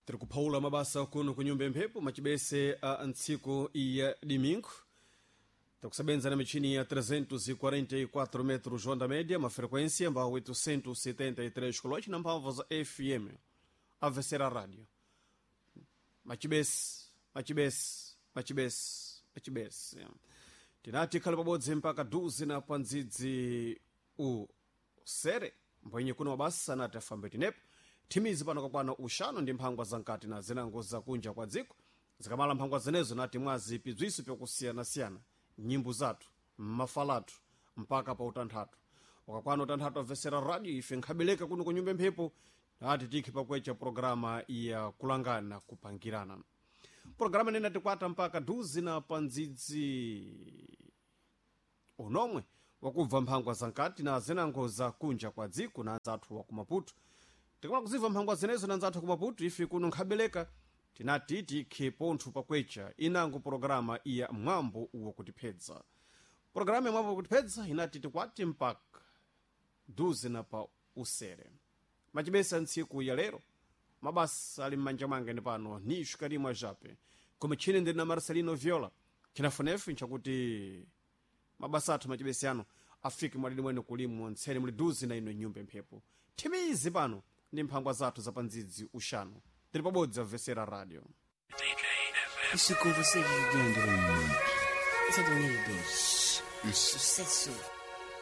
Tiri kuphawula mabasa kuno ku nyumba mphepo macibese a ntsiku ya domingo. Tikusebenza na michini ya 344 metros onda média, uma frequência mbao 873 kHz na mphamvu za FM. Avesera rádio. Macibese, macibese, macibese, macibese. Tinati khale pabodzi mpaka duzi na pandzidzi usere mbwenye kuno mabasa anati afambe tinepo thimizi pano kakwana uxanu ndi mphangwa zamkati na zinango zakunja kwa dziko. Zikamala mphangwa zenezo nati mwazi pibziso pyakusiyanasiyana, nyimbo zathu, mafalatu mpaka pa utanthatu. Ukakwana utanthatu amvesera radio, ife nkhabeleka kuno ku nyumba mphepo nati tikhe pakwecha programa ya kulangana kupangirana. Programa nene tikwata mpaka duzi na pandzidzi unomwe wakubva mphangwa zamkati na zinango za kunja kwa dziko na anzathu wa kumaputo. Tikamala kuzibva mphangwa zenezo na anzathu kumaputo, ife kuno nkhabeleka tinati tikhe pontho pakwecha inango programa iya mwambo wakutiphedza. Programa ya mwambo wakutiphedza inati tikwati mpaka duzi na pa usere. Macibesa ntsiku ya lero mabasa ali m'manja mwange ndi pano ni xikalimwa jape koma tchine ndili na Marcelino Viola. Chinafunefu nchakuti mabasa athu macibesi ano afike mwadidi mwene kulimwa ntsene muli duzi na ino nyumba mphepo. Thimizi pano ndi mphangwa zathu za pandzidzi uxanu. Tili pabodzi amvesera radio. Isso com você, Leandro. Esse é do Unidos. Sucesso.